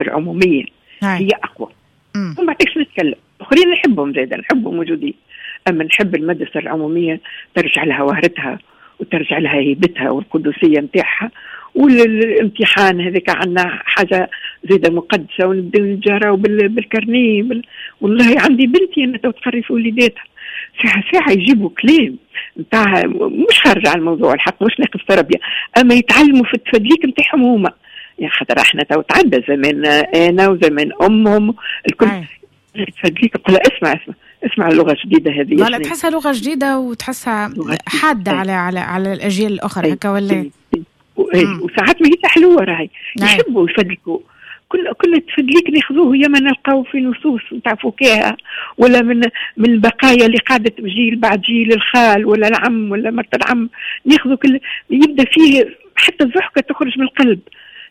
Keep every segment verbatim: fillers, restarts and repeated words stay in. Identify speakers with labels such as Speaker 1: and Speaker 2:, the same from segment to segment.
Speaker 1: العمومية
Speaker 2: هاي.
Speaker 1: هي اقوى.
Speaker 2: وما
Speaker 1: بعدش نتكلم، الاخرين نحبهم زاده، نحبهم موجودين، اما نحب المدرسة العمومية ترجع لها وهرتها وترجع لها هيبتها والقدسيه نتاعها، والامتحان هذاك عندنا حاجة زاده مقدسة، ونبداو نتجاراو بال carnet بال... والله عندي بنتي انا تو تقري في وليداتها، ساعة ساعة يجيبوا كلام نتاع مش خارج على الموضوع الحق، مش ناقص تربيه، اما يتعلموا في التفدليك نتاعهم هما، يعني خاطر احنا تو تعدى زمان انا وزمان امهم الكل تفدليك، نقول اسمع اسمع اسمع اللغة الجديدة هذه.
Speaker 2: لا تحسها لغة جديدة وتحسها حادة على على على الاجيال الاخرى هكا ولا؟
Speaker 1: وساعات ما هي حلوة راهي، يحبوا يفدلكوا، كل كل تفدليك ناخذوه يا ما نلقاو في نصوص نتاع فكاهة ولا من من البقايا اللي قعدت جيل بعد جيل، الخال ولا العم ولا مرت العم، ناخذوا كل يبدا فيه حتى الضحكة تخرج من القلب.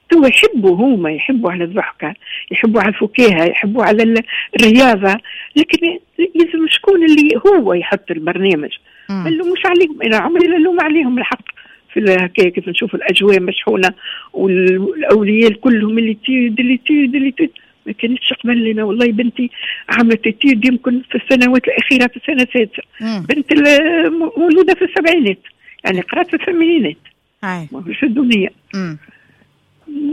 Speaker 1: تو يحبوا هما، يحبوا على الضحكة، يحبوا على الفكاهة، يحبوا على الرياضة، لكن لازم شكون اللي هو يحط البرنامج. ما نلوموش عليهم، انا عمري لا نلوم عليهم الحق في هكايا كيف نشوف الاجواء مشحونه والاولياء كلهم les études les études les études، ما كانتش قبل لنا. والله بنتي عملت études يمكن في السنوات الاخيرة في السنة السادسة، بنت مولودة في السبعينات، يعني قرات في الثمانينات، ماهوش الدنيا.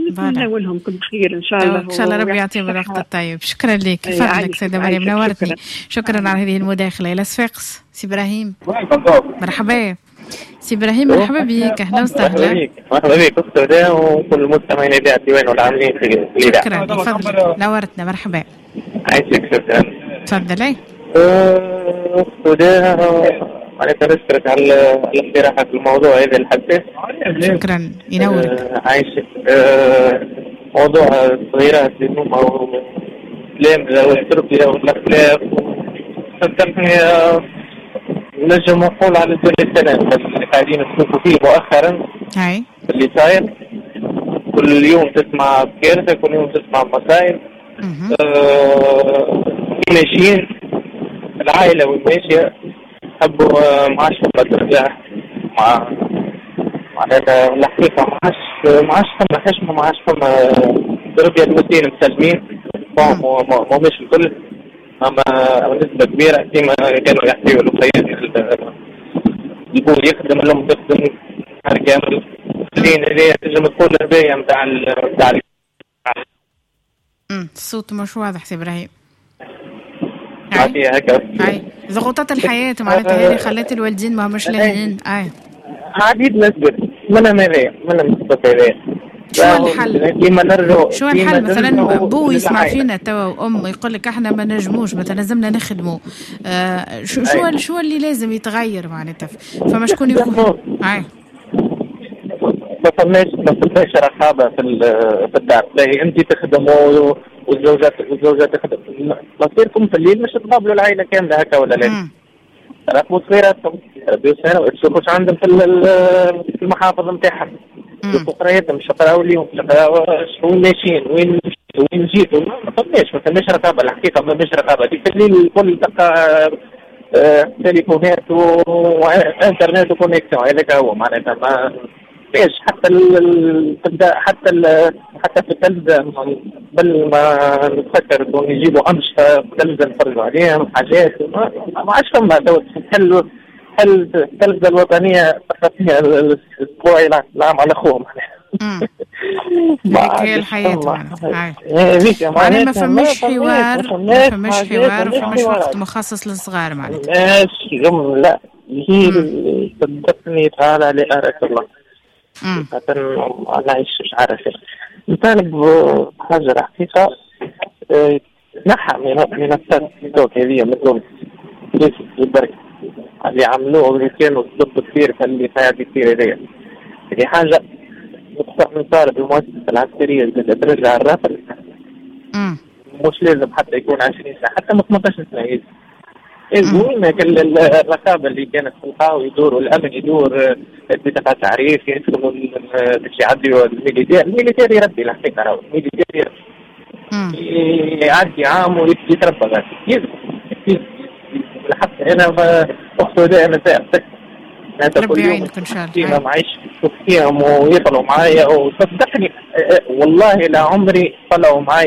Speaker 1: نتمنى لهم كل خير ان شاء الله،
Speaker 2: ان شاء الله ربي يعطيهم الوقت الطيب. شكرا لك، فضلك سيده مريم، نورتني، شكرا, شكرا على هذه المداخلة. الى صفاقس سي ابراهيم، مرحبا سي ابراهيم، مرحبا بك، اهلا وسهلا.
Speaker 3: مرحبا بك اخت هدى وكل المستمعين اذاعة الديوان والعاملين في
Speaker 2: الاذاعة. شكرا، تفضل نورتنا، مرحبا.
Speaker 3: عايشك، شكرا.
Speaker 2: تفضلي.
Speaker 3: اخت هدى، معناتها نشكرك على الاقتراح في الموضوع هذا الحساس.
Speaker 2: شكرا، ينورك.
Speaker 3: عايشك. موضوع الصغيرات اللي هما التلامذة والتربية والأخلاق، صدقني نجم نقول على الدنيا السلام اللي قاعدين نشوفوا فيه مؤخرا.
Speaker 2: اي
Speaker 3: اللي صاير كل يوم تسمع بكارثة، كل يوم تسمع مصايب. آه ماشيين العائلة والماشية حبوا ما عادش فما ترجع مع معناتها الحقيقة ما عادش ما عادش فما حشمة، ما عادش فما تربية. الوالدين مسلمين ماهمش الكل، اما نسبة كبيرة كيما كانوا يحكيوا الأخيين، البو يخدم الأم تخدم نهار كامل، لين هذه تنجم تقول الهدايا نتاع نتاع
Speaker 2: الصوت مش واضح سي إبراهيم.
Speaker 3: هكا
Speaker 2: اي ضغوطات الحياة معناتها هذه خلت الوالدين ما همش لاهيين. اي
Speaker 3: عديد نسبة منها هذايا منها نسبة هذايا.
Speaker 2: شو الحل؟ شو الحل مثلا بو يسمع فينا توا وام يقول لك احنا ما نجموش مثلا لازمنا نخدموا، آه شو شو شو اللي لازم يتغير معناتها؟ فما شكون يكون؟ اي
Speaker 3: ما فماش ما فماش رقابه في في الدار، لا انت تخدم والزوجة والزوجة تخدم، مصيركم في الليل مش تقابلوا العائلة كاملة هكا ولا لا؟ راقبوا صغيراتكم، ربيوا صغيرات، تشوفوا اش عندهم في في المحافظ نتاعهم، شوفوا قرايتهم، اش قراو اليوم، وين ماشيين، وين وين جيتوا. ما فماش ما فماش رقابه الحقيقة، ما فماش رقابه. في الليل الكل تلقى تليفونات وانترنت و connexion، هذاك هو معناتها ما فيش حتى ال حتى ال حتى في التلفزة قبل ما نتفكر انهم يجيبوا انشطة في التلفزة نتفرجوا عليهم حاجات ما عادش فما. تحل تحل التلفزة الوطنية فيها الاسبوعي العام على خوه
Speaker 2: معناها. هذيك هي الحياة معناها. معناها ما فماش حوار، ما فماش حوار، ما فماش وقت مخصص للصغار معناتها.
Speaker 3: ماشي جملة هي صدقني تعالى لأراك الله. خاطر نعيش مش عارف نطالب بحاجة الحقيقة نحى من التيك هذه من تونس البرك اللي عملوه واللي كانوا ضد كثير في اللي قاعد يصير هذايا. هذه حاجة نطالب المؤسسة العسكرية ترجع الرافل، مش لازم حتى يكون عشرين سنة، حتى من ثمنطاش سنة يلزم. الرقابة اللي كانت في القهوة يدور والأمن يدور بطاقة تعريف يدخلوا باش يعديوا ال militaire، ال militaire يربي الحقيقة، راهو ال militaire يعدي عام ويتربى غادي يلزم الحق. أنا أخته دائما سائق
Speaker 2: ربي يعينك إن شاء الله.
Speaker 3: معيش فيهم ويطلعوا معايا وصدقني والله لا عمري طلعوا معايا.